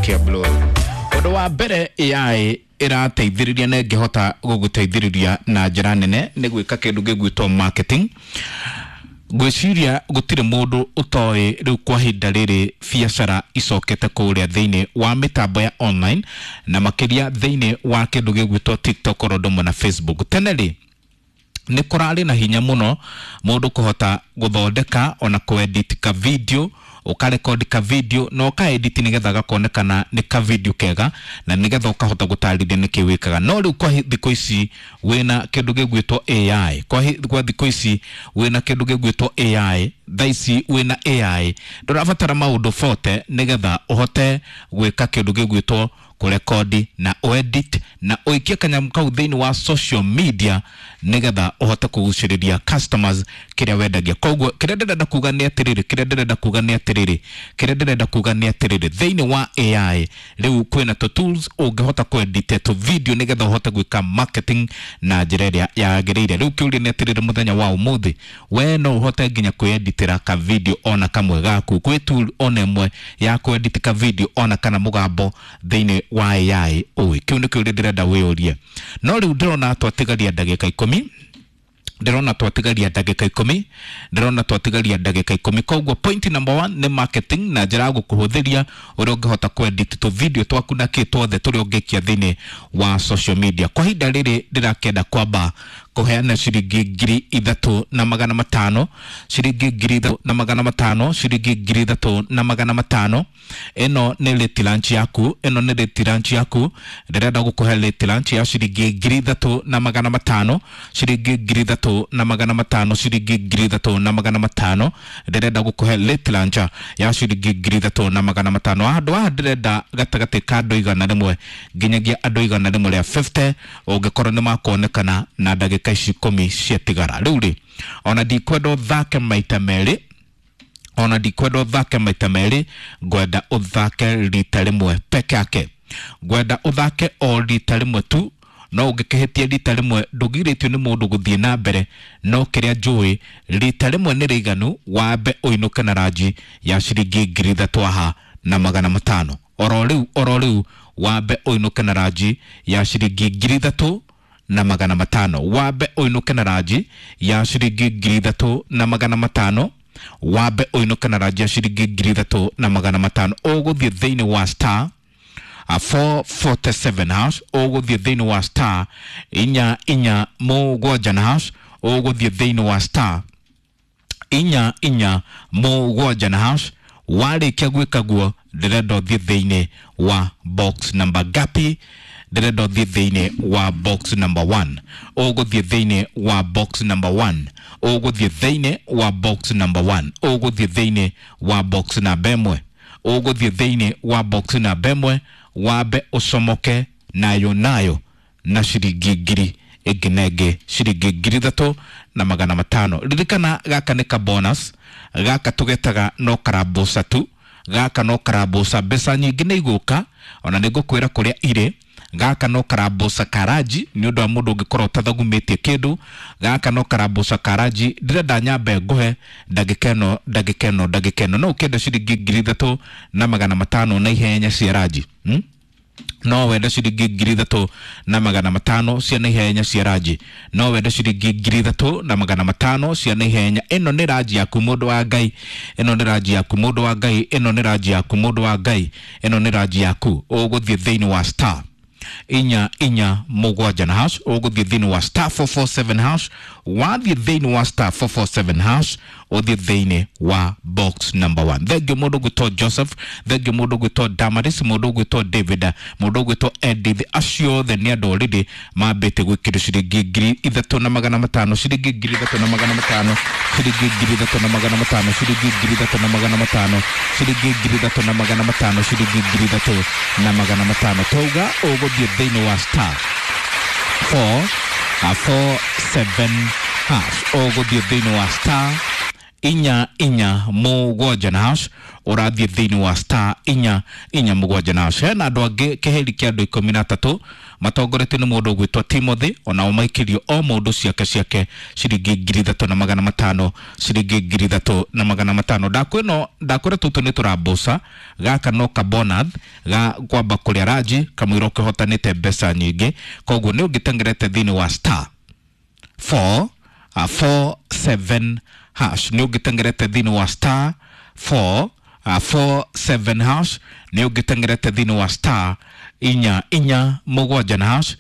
Kĩa blue. Ũndũ wa mbere AI ĩrateithĩrĩria na ĩngĩhota gũgũteithĩrĩria na njĩra nene nĩ gwĩka kĩndũ gĩgwĩtwo marketing. Ngwĩciria gũtirĩ mũndũ ũtoĩ rĩu kwa ihinda rĩrĩ biacara icokete kũrĩa thĩinĩ wa mĩtambo ya online na makĩria thĩinĩ wa kĩndũ gĩgwĩtwo TikTok oro ũndũ ũmwe na Facebook. Tene rĩ, nĩ kũrarĩ na hinya mũno mũndũ kũhota gũthondeka ona kũedit ka video, ũkarekodi ka video na ũkaedit nĩgetha gakonekana nĩ ka video kega na nĩgetha ũkahota gũtarĩria nĩkĩ wĩkaga. No rĩu kwa thikũ ici wĩna kĩndũ gĩgwĩtwo AI, kwa thikũ ici wĩna kĩndũ gĩgwĩtwo AI, thaa ici wĩna AI ndũrabatara maũndũ bote nĩgetha ũhote gwĩka kĩndũ gĩgwĩtwo kũrekodi na ũedit na ũikie kanyamũ kau thĩinĩ wa social media nĩgetha ũhote kũgucĩrĩria customers kĩrĩa wendagia. Koguo kĩrĩa ndĩrenda kuga nĩ atĩrĩrĩ, kĩrĩa ndĩrenda kuga nĩ atĩrĩrĩ, kĩrĩa ndĩrenda kuga nĩ atĩrĩrĩ, thĩinĩ wa AI rĩu kwĩna tũ tools ũngĩhota kũedit tũ video nĩgetha ũhote gwĩka marketing na njĩra ĩrĩa yagĩrĩire. Rĩu kĩũria nĩ atĩrĩrĩ, mũthenya wa ũmũthĩ we no ũhote nginya kwĩeditĩra ka video ona kamwe gaku, kwĩ tool ona ĩmwe ya kũedit ka video ona kana mũgambo thĩinĩ wa AI ũĩ? Kĩu nĩ kĩũria ndĩrenda wĩyũrie. No rĩu ndĩrona twatigaria ndagĩka 10, ndĩrona twatigaria ndagĩka 10, ndĩrona twatigaria ndagĩka 10. Koguo point number 1 nĩ marketing na njĩra ya gũkũhũthĩria ũrĩa ũngĩhota kũedit tũ video twaku na kĩ twothe tũrĩa ũngĩkia thĩinĩ wa social media. Kwa ihinda rĩrĩ ndĩrakĩenda kwamba kũheana ciringi 3500, ciringi 3500, ciringi 3500. Ĩno nĩ late lunch yaku, ĩno nĩ late lunch yaku. Ndĩrenda gũkũhe late lunch ya ciringi 3500, ciringi 3500, ciringi 3500. Ndĩrenda gũkũhe late lunch ya ciringi 3500. Handũ haha ndĩrenda gatagatĩ ka andũ 100 nginyagia andũ 150 ũngĩkorwo nĩ makuonekana na ndagĩka ici 10 ciatigara. Rĩu rĩ, ona ndikwenda ũthake maita merĩ, ona ndikwenda ũthake maita merĩ, ngwenda ũthake rita rĩmwe peke yake, ngwenda ũthake o rita rĩmwe tu. No ũngĩkĩhĩtia rita rĩmwe ndũgirĩtio nĩ mũndũ gũthiĩ na mbere, no kĩrĩa njũĩ rita rĩmwe nĩ rĩiganu wambe ũinũke na ranji ya ciringi 3500. Oro rĩu, oro rĩu wambe ũinũke na ranji ya ciringi 3500, wambe ũinũke na ranji ya ciringi 3500, wambe ũinũke na ranji ya ciringi 3500. Ũgũthiĩ thĩinĩ wa star 447 hash, ũgũthiĩ thĩinĩ wa star 447 na hash, ũgũthiĩ thĩinĩ wa star 447 na hash. Warĩkia gwĩka guo, ndĩrenda ũthiĩ thĩinĩ wa box number gapi? Ndĩrenda ũthiĩ thĩinĩ wa box number 1. Ũgũthiĩ thĩinĩ wa box number 1, ũgũthiĩ thĩinĩ wa box number 1, ũgũthiĩ thĩinĩ wa box namba 1, ũgũthiĩ thĩinĩ wa box namba 1, wambe ũcomoke nayo nayo na ciringi ngiri ĩngĩ na ĩngĩ, ciringi 3500. Ririkana gaka nĩ ka bonus, gaka tũgetaga no karambuca tu, gaka no karambuca, mbeca nyingĩ nĩ igũka, ona nĩ ngũkwĩra kũrĩa irĩ. Gaka no karambuca karanji nĩ ũndũ wa mũndũ ũngĩkorwo ũtathagumĩtie kĩndũ. Gaka no karambuca karanji. Ndĩrenda nyambe ngũhe ndagĩka ĩno, ndagĩka ĩno, ndagĩka ĩno. No ũkĩenda ciringi 3500 na ihenya cia ranji, No wende ciringi 3500 cia na ihenya cia ranji? No wende ciringi 3500 cia na ihenya? Ĩno nĩ ranji yaku, mũndũ wa Ngai. Ĩno nĩ ranji yaku, mũndũ wa Ngai. Ĩno nĩ ranji yaku, mũndũ wa Ngai. Ĩno nĩ ranji yaku. Ũgũthiĩ thĩinĩ wa star 447 na hash, ũgũthiĩ thĩinĩ wa star 447 hash. Wathiĩ thĩinĩ wa star 447 hash, ũthiĩ thĩinĩ wa box number 1. Thengiũ mũndũ ũgwĩtwo Joseph, thengiũ mũndũ ũgwĩtwo Damaris, mũndũ ũgwĩtwo David, mũndũ ũgwĩtwo Edith, acio othe nĩ andũ already mambĩte gwĩkĩrwo ciringi 3500, ciringi 3500, ciringi 3500, ciringi 3500, ciringi 3500, ciringi 3500. Twauga ũgũthiĩ thĩinĩ wa star 4 4 7 hash, ũgũthiĩ thĩinĩ wa star inya inya mũgwanja na hash, ũrathiĩ thĩinĩ wa star inya inya mũgwanja na hash. Hena andũ angĩ kĩheri kĩa andũ 13 matongoretio nĩ mũndũ ũgwĩtwo Timothy, onao maikĩrio o mũndũ ciake ciake ciringi 3500, ciringi 3500. Ndakwĩno ndakwĩra tũtũ nĩ tũrambuca gaka no kabonath ga kwamba kũrĩa ranji kamũira ũkĩhotanĩte mbeca nyingĩ, koguo nĩ ũngĩtengerete thĩinĩ wa star 4 4 7 hash, nĩ ũngĩtengerete thĩinĩ wa star 4 4 7 hash, nĩ ũngĩtengerete thĩinĩ wa star inya inya mũgwanja na hash,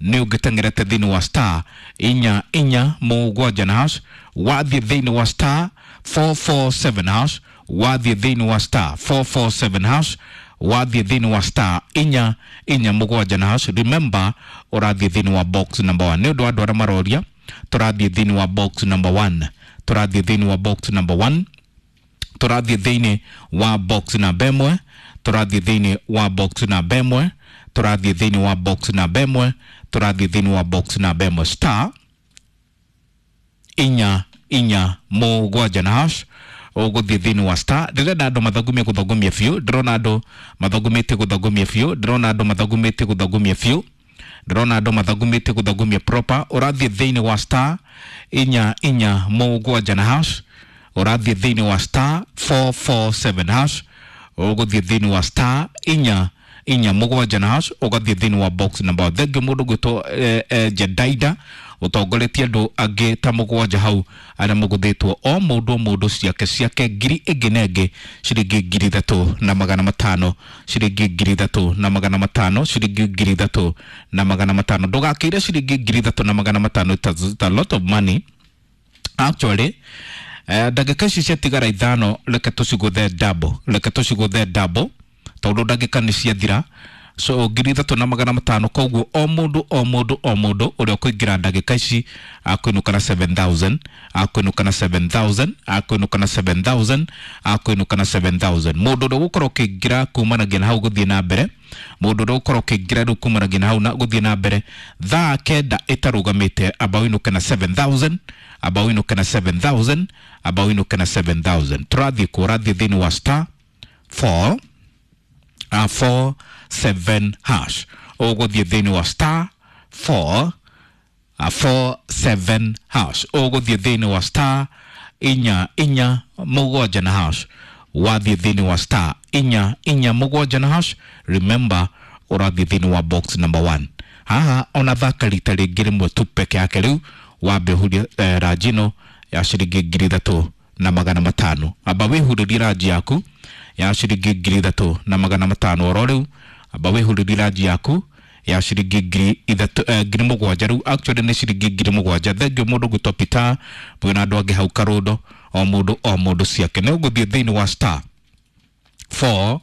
nĩ ũngĩtengerete thĩinĩ wa star inya inya mũgwanja na hash, wathiĩ thĩinĩ wa star 447 hash, wathiĩ thĩinĩ wa star 447 hash, wathiĩ thĩinĩ wa star inya inya mũgwanja na hash. Remember ũrathiĩ thĩinĩ wa box number 1. Nĩ ũndũ wa andũ arĩa maroria, tũrathiĩ thĩinĩ wa box number 1, tũrathiĩ thĩinĩ wa box number 1, tũrathiĩ thĩinĩ wa box namba ĩmwe, tũrathiĩ thĩinĩ wa box namba ĩmwe, tũrathiĩ thĩinĩ wa box namba ĩmwe, tũrathiĩ thĩinĩ wa box namba ĩmwe, star inya inya mũgwanja na hash, ũgũthiĩ thĩinĩ wa star. Ndĩrenda andũ mathagumie gũthagumia biũ, ndĩrona andũ mathagumĩtie gũthagumia biũ, ndĩrona andũ mathagumĩtie gũthagumia biũ, ndĩrona andũ mathagumĩtie gũthagumia proper. Ũrathiĩ thĩinĩ wa star inya inya mũgwanja na hash, ũrathiĩ thĩinĩ wa star 447 hash, ũgũthiĩ thĩinĩ wa star inya inya mũgwanja na hash, ũgathiĩ thĩinĩ wa box number. Thengiũ mũndũ gwĩtwo Jedaida ũtongoretie andũ angĩ ta mũgwanja hau arĩa mũgũthĩtwo o mũndũ o mũndũ ciake ciake ngiri ĩngĩ na ĩngĩ ciringi 3500, ciringi 3500, ciringi 3500. Ndũgakĩire ciringi 3500, it's a lot of money actually. Ndagĩka ici ciatigara ithano, reke tũcigũthe double, reke tũcigũthe double tondũ ndagĩka nĩ ciathira. So 3500, koguo o mũndũ o mũndũ o mũndũ ũrĩa ũkũingĩra ndagĩka ici akũinũka na 7000, akũinũka na 7000, akũinũka na 7000, akũinũka na 7000. Mũndũ ũrĩa ũgũkorwo ũkĩingĩra kumanagia na hau gũthiĩ na mbere, mũndũ ũrĩa ũgũkorwo ũkĩingĩra rĩu kumanagia na hau na gũthiĩ na mbere thaa 9 ĩtarũgamĩte, amba ũinũke na 7000, amba ũinũke na 7000, amba ũinũke na 7000. Tũrathiĩ kũ? Ũrathiĩ thĩinĩ wa star 4 4 7 hash, ũgũthiĩ thĩinĩ wa star 4 4 7 hash, ũgũthiĩ thĩinĩ wa star inya inya mũgwanja na hash, wathiĩ thĩinĩ wa star inya inya mũgwanja na hash. Remember ũrathiĩ thĩinĩ wa box number 1. Haha ona thaka rita rĩngĩ rĩmwe tu peke yake rĩu, wambe ũhurie ranji ĩno ya ciringi 3500. Amba wĩhurĩrie ranji yaku ya ciringi 3500 oro rĩu, amba wĩhurĩrie ranji yaku ya ciringi 3000, 7000 rĩu actually nĩ ciringi 7000. Thengiũ mũndũ gwĩtwo Peter mwĩna andũ angĩ hau Karũndo, o mũndũ o mũndũ ciake. Nĩ ũgũthiĩ thĩinĩ wa star 4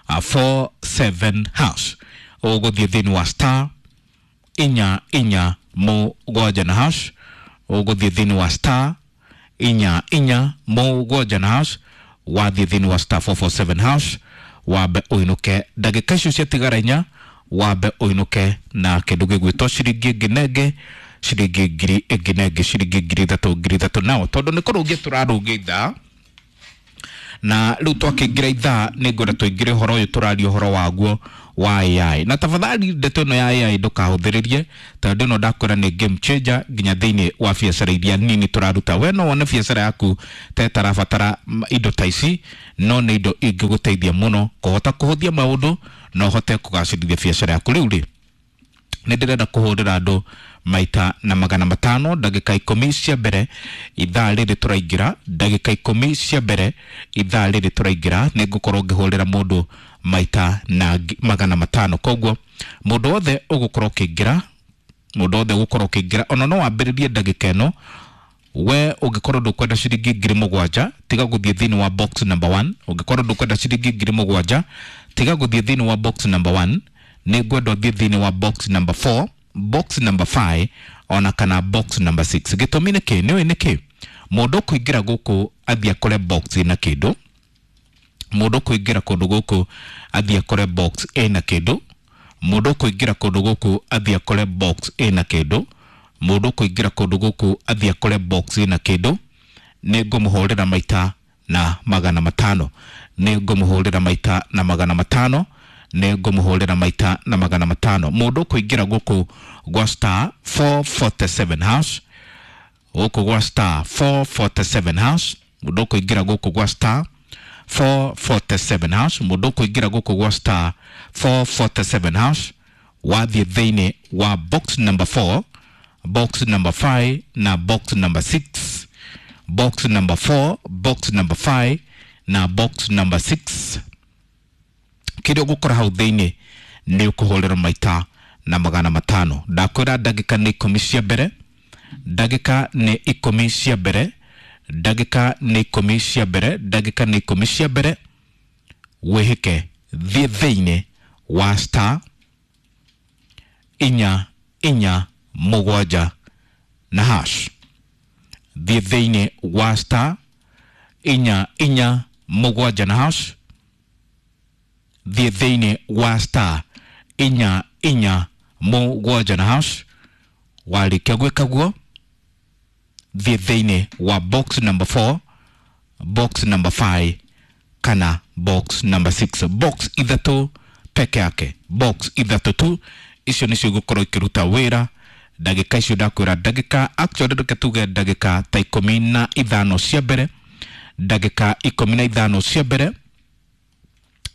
4 7 hash, ũgũthiĩ thĩinĩ wa star inya inya mũgwanja na hash, ũgũthiĩ thĩinĩ wa star inya inya mũgwanja na hash, wathiĩ thĩinĩ wa star 447 hash, wambe ũinũke ndagĩka icio ciatigara inya, wambe ũinũke na kĩndũ gĩgwĩtwo ciringi ĩngĩ na ĩngĩ, ciringi ngiri ĩngĩ na ĩngĩ, ciringi 3000, 3000. Nao tondũ nĩ kũrũngia tũrarũngia ithaa, na rĩu twakĩingĩra ithaa nĩ ngwenda tũingĩre ũhoro ũyũ tũraria ũhoro waguo wa AI. Na tafadhali ndeto ĩno ya AI ndũkahũthĩrĩrie, tondũ ĩno ndakwĩra nĩ game changer nginya thĩinĩ wa biacara iria nini tũraruta. We no wone biacara yaku ta ĩtarabatara indo ta ici, no nĩ indo ingĩgũteithia mũno kũhota kũhũthia maũndũ na ũhote kũgacĩrithia biacara yaku. Rĩu rĩ, nĩ ndĩrenda kũhũrĩra andũ maita na 500 ndagĩka 10 cia mbere ithaa rĩrĩ tũraingĩra, ndagĩka 10 cia mbere ithaa rĩrĩ tũraingĩra nĩ ngũkorwo ngĩhũrĩra mũndũ maita na 500. Koguo mũndũ wothe ũgũkorwo ũkĩingĩra, mũndũ wothe ũgũkorwo ũkĩingĩra, ona no wambĩrĩrie ndagĩka ĩno. We ũngĩkorwo ndũkwenda ciringi 7000, tiga gũthiĩ thĩinĩ wa box number 1. Ũngĩkorwo ndũkwenda ciringi 7000, tiga gũthiĩ thĩinĩ wa box number 1. Nĩ ngwenda ũthiĩ thĩinĩ wa box number 4, box number 5 ona kana box number 6. Gĩtũmi nĩ kĩ? Nĩũĩ nĩ kĩ? Mũndũ ũkũingĩra gũkũ athiĩ akore box ĩna kĩndũ, mũndũ ũkũingĩra kũndũ gũkũ athiĩ akore box ĩna kĩndũ, mũndũ ũkũingĩra kũndũ gũkũ athiĩ akore box ĩna kĩndũ, mũndũ ũkũingĩra kũndũ gũkũ athiĩ akore box ĩna kĩndũ, Nĩ ngũmũhũrĩra maita na 500. Nĩ ngũmũhũrĩra maita na 500. Nĩ ngũmũhũrĩra maita na 500. Mũndũ ũkũingĩra gũkũ gwa star 447 hash, gũkũ gwa star 447 hash, mũndũ ũkũingĩra gũkũ gwa star 447 hash, mũndũ ũkũingĩra gũkũ gwa star 447 hash, wathiĩ thĩinĩ wa box number 4, box number 5 na box number 6, box number 4, box number 5 na box number 6, kĩrĩa ũgũkora hau thĩinĩ nĩ ũkũhũrĩrwo maita na 500. Ndakwĩra ndagĩka nĩ 10 cia mbere, ndagĩka nĩ 10 cia mbere, ndagĩka nĩ 10 cia mbere, ndagĩka nĩ 10 cia mbere, wĩhĩke thiĩ thĩinĩ wa star 4 4 7 na hash. Thiĩ thĩinĩ wa star 4 4 7 na hash. Thiĩ thĩinĩ wa star 4 4 7 na hash. Warĩkia gwĩka guo, thiĩ thĩinĩ wa box number 4, box number 5 kana box number 6. Box ithatũ peke yake, box ithatũ tu, icio nĩcio igũkorwo ikĩruta wĩra ndagĩka icio. Ndakwĩra ndagĩka, actually reke tuge ndagĩka ta 15 cia mbere, ndagĩka 15 cia mbere,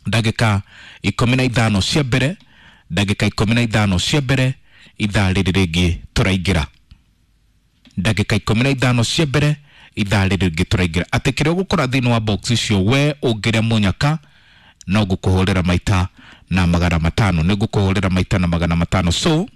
ndagĩka 15 cia mbere, ndagĩka 15 cia mbere, ithaa rĩrĩ rĩngĩ tũraingĩra, ndagĩka 15 cia mbere, ithaa rĩrĩ rĩngĩ tũraingĩra, atĩ kĩrĩa ũgũkora thĩinĩ wa box icio, we ũngĩrĩa mũnyaka no ngũkũhũrĩra maita na 500. Nĩ ngũkũhũrĩra maita na 500. So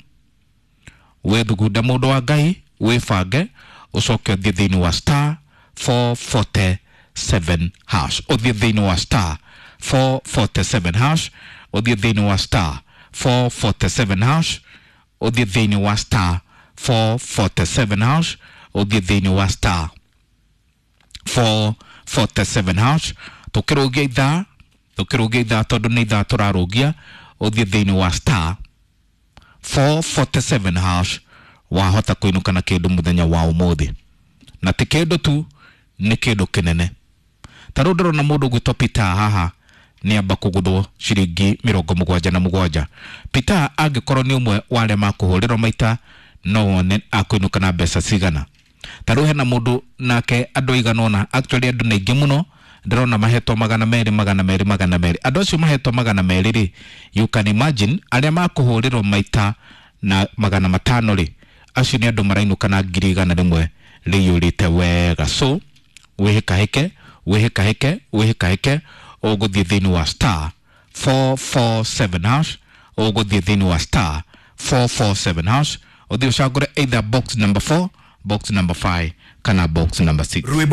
wĩthugunda, mũndũ wa Ngai, wĩbange, ũcoke ũthiĩ thĩinĩ wa star 447 hash, ũthiĩ thĩinĩ wa star 447 hash, ũthiĩ thĩinĩ wa star 447 hash, ũthiĩ thĩinĩ wa star 447 hash, ũthiĩ thĩinĩ wa star 447 hash. Tũkĩrũgia ithaa, tũkĩrũgia ithaa, tondũ nĩ ithaa tũrarũgia, ũthiĩ thĩinĩ wa star 447 hash, wahota kũinũka na kĩndũ mũthenya wa ũmũthĩ, na ti kĩndũ tu, nĩ kĩndũ kĩnene. Ta rĩu ndĩrona mũndũ ũgwĩtwo Peter haha nĩ amba kũgũthwo ciringi 77. Peter angĩkorwo nĩ ũmwe wa arĩa makũhũrĩrwo maita, no wone akũinũka na mbeca cigana. Ta rĩu hena mũndũ nake, andũ aigana ũna, actually andũ nĩ aingĩ mũno, ndĩrona mahetwo 200, 200, 200. Andũ acio mahetwo 200 rĩ, you can imagine arĩa makũhũrĩrwo maita na 500 rĩ, acio nĩ andũ marainũka na 100,000 rĩiyũrĩte wega. So wĩhĩkahĩke, wĩhĩkahĩke, wĩhĩkahĩke, ũgũthiĩ thĩinĩ wa star 447 hash, ũgũthiĩ thĩinĩ wa star 447 hash, ũthiĩ ũcagũre either box number 4, box number 5 kana box number 6. Rwĩmbo.